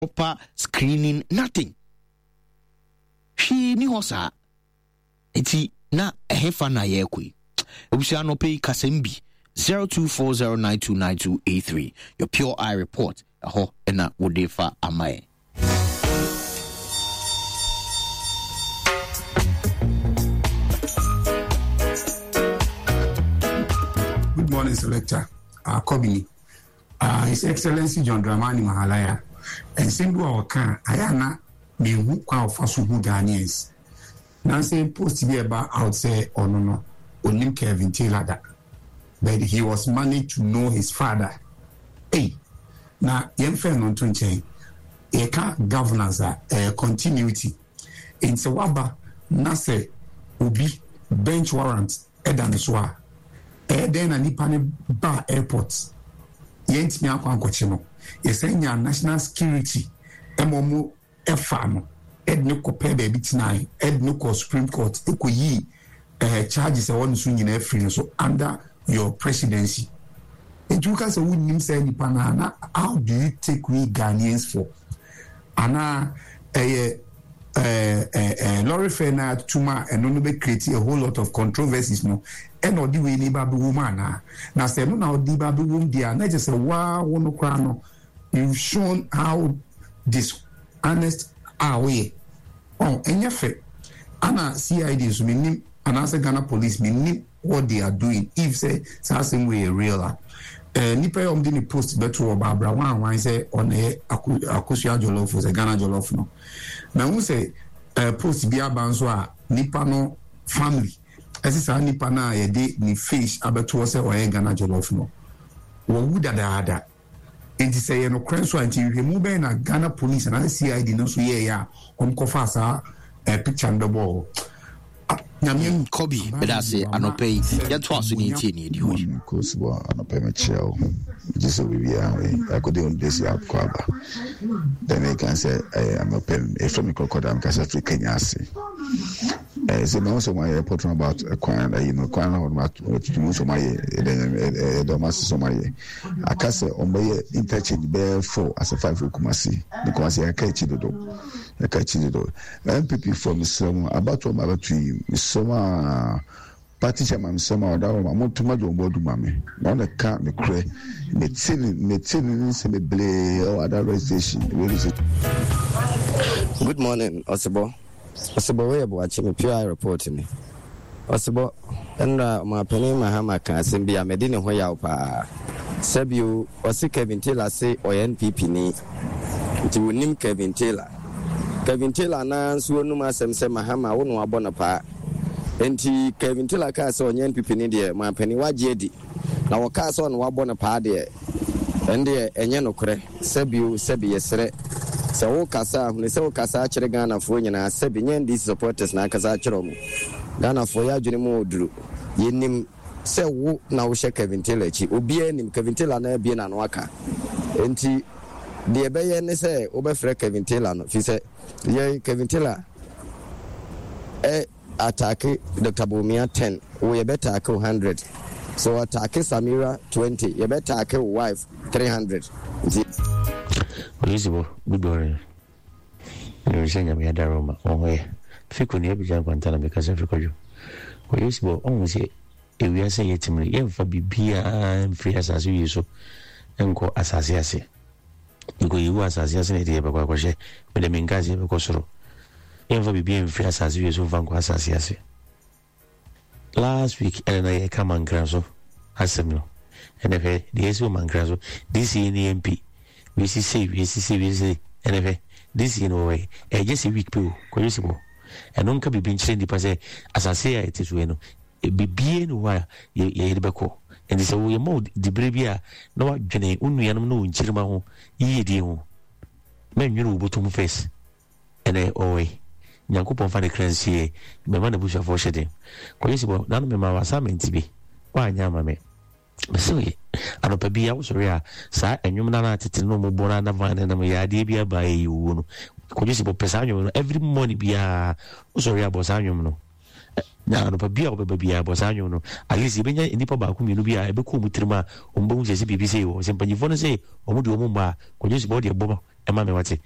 Proper screening, nothing. Hwee ni hɔ saa. Nti na ɛhefa na yɛrekɔ yi? Abusua anɔpɛ yi kasɛm bi 0240929283 your pure eye report ɛhɔ na wode fa ama yɛn. Good morning, Selector. Kobini. His Excellency John Dramani Mahalaya, nsɛm bi wɔ a ɔka a, ayɛ a na menhu kwan a ɔfa so hu Ghanaians. Nansa post bi a ɛba out sɛ ɔno no, ɔnim Kevin Taylor da. But he was managed to know his father. Ei, na yɛmfa ɛno nto nkyɛn. Yɛka governance a, ɛyɛ continuity. Enti sɛ woaba na sɛ obi bench warrant da ne so a, ɛyɛ dɛn na nipa no baa airport yɛntumi akɔ ankɔkye no? Yɛsan nyaa national security ma wɔn faa no de no kɔpɛɛ baabi tenae, de no kɔɔ Supreme Court kɔyii eh, charges a ɛwɔ ne so nyinaa firi no so under your presidency. Nti woka sɛ wonnim saa nipa no a, na how do you take we Ghanaians for? Anaa ɛyɛ ɛɛ ɛɛ lorry fare no atum a ɛno no bɛ create a whole lot of controversies no ɛna ɔde wei ni ba abɛwɔ mu anaa? Na sɛ ɛno na ɔde ba abɛwɔ mu deɛ a na kyerɛ sɛ waa wo no koraa no you've shown how dishonest a woyɛ. Ɔn ɛnyɛ fɛ. Ana CID nso mennim anaasɛ Ghana police mennim what they are doing if sɛ saa asɛm wei yɛ real a. Eh, nipa yi a wɔde ne post bɛto hɔ Barbara wan wan sɛ ɔna yɛ Akosua Jollof sɛ Ghana Jollof no. Mahu sɛ eh, post bi aba nso a nipa no family ɛsɛ saa nipa no a yɛde ne face abɛto hɔ sɛ ɔyɛ Ghana Jollof no wɔwu dadaada. Enti sɛ ɛyɛ nokorɛ nso a, nti nhwehwɛmu bɛn na Ghana police anaasɛ CID no nso yɛeɛ a wɔkɔfaa saa eh, picture no bɛbɔɔ hɔ? Ah, Nyame mm, Kobe, meda ase anɔpa yi. Yɛntoa so ne yɛntie ne ɛdi hɔ yi. Kosibɔ anɔpa yi mekyia wo. Megye sɛ biribiara ho ye. Akɔdi wo desi akɔ aba. Dɛ meka sɛ ɛyɛ anɔpa yi ɛfrɛ me kɔkɔda mekasa firi Kenya ase. Ɛɛ sɛ mahu sɛ wɔayɛ report no about kwan ayi no kwan no hɔ no atutu sɛ wɔayɛ ɛdɛ ɛdɛ wɔn ase sɛ wɔayɛ. Aka sɛ wɔbɛyɛ interchange bɛyɛ 4 asɛ 5 wɔ Kumasi. Ne Kumasi yɛaka akyi dodo. Yɛaka akyi dodo. NPP foɔ mesrɛ mo abatoɔ ma abɛto yi mesrɛ mo a party chairman mesrɛ mo a ɔda hɔ ma monto ma John Boadu ma me na ɔna ka ne korɛ mete ne mete ne nsɛm bebree ɛwɔ ada radio station radio station. Good morning Ɔsebɔ. Ɔsebɔ wei yɛ Boakye me PI report ni. Ɔsebɔ, Nnora Ɔmanpanin Mahama kaa asɛm bi a madi ne ho yaw paa. Sɛbio, ɔse Kevin Taylor se ɔyɛ NPP ni, nti wɔnim Kevin Taylor. Kevin Taylor no ara nso anum asɛm sɛ Mahama wo na wabɔ no paa. Nti Kevin Taylor kaa sɛ ɔnyɛ NPP ni deɛ, Ɔmanpanin wagye adi. Na wɔkaa sɛ ɔna wabɔ no paa deɛ, ɛndeɛ ɛnyɛ nokorɛ. Sɛbio sɛbi yɛsrɛ sɛ wo kasa a hunu sɛ wo kasa akyerɛ Ghanafoɔ nyinaa sɛbi nyɛ NDC supporters na akasa akyerɛ ɔmo. Ghanafoɔ yɛ adwene mu ɔduru. Yɛnim sɛ wo na wo hyɛ Kevin Taylor akyi. Obiara nim Kevin Taylor na abue n'ano aka. Enti deɛ ɛbɛyɛ ne sɛ wobɛfrɛ Kevin Taylor no firi sɛ yɛn Kevin Taylor ɛ Atake Doctor Bawumia ten wo yɛbɛ take wo hundred sɛ wɔ take Samira 20 yɛbɛ take wo wife 300 nti. Oyisibo, good morning. Menim sɛ Nyame adaro ma wo ho yɛ. Fiko ni Abidjan Kwanta na mekasa firi Kwadwo. Oyisibo, ɔhu sɛ ewiase a yɛte mu no yɛmfa biribiara mfiri asase wie so nkɔ asase ase. Yɛkɔyi wɔ asase ase na yɛde yɛbɛkɔ akɔhyɛ. Mede menka sɛ yɛbɛkɔ soro. Yɛmfa biribiara mfiri asase wie so mfa nkɔ asase ase. Last week ɛna na yɛka mankra so asɛm no. Ɛna hwɛ deɛ ɛsi wɔ mankra so. DCA ne MP. Wei si sei, wei si sei, wei si sei. Ɛna hwɛ DCA no wɔwɔ yi. Ɛgye sɛ week pɛ o. Kɔyɛ si bɔ. Ɛno nka biribi nkyerɛ nnipa sɛ asase a ɛte so yi no biribiara ni hɔ a yɛde bɛkɔ. Nti sɛ wɔyɛ ma wo dibere bi a na wadwene wo nuanom ne wo nkyirima ho yiyedie ho. Mɛnwene wo bɔtɔ mu first. Ɛnɛ ɔwɔ yi. Nyankopɔn fa ne kra nsie. Mɛma n'abusuafoɔ hyɛ den. Kɔyɛ si bɔ nano mema wo assignment bi. Woanyɛ ama me. Mese wo anɔpa bi a wosɔre a saa ɛnwom no na tete no mo bɔ no na van no yɛ adeɛ bi aba ɛyɛ owuo no. Kɔyɛ si bɔ pɛ saa nwom no every morning biara wosɔre a bɔ saa nwom no. Na anɔpa bi a wobɛba biara bɔ saa nwom no. At least yɛbɛnya nnipa baako mmienu bi a ɛbɛkɔ wɔn tirim a wɔn bɛhu sɛ sɛ biribi sei wɔ. Sɛ mpanyinfoɔ no sɛ wɔn de wɔn mma a kɔyɛ si bɔ deɛ bɔ. ɛma me wate.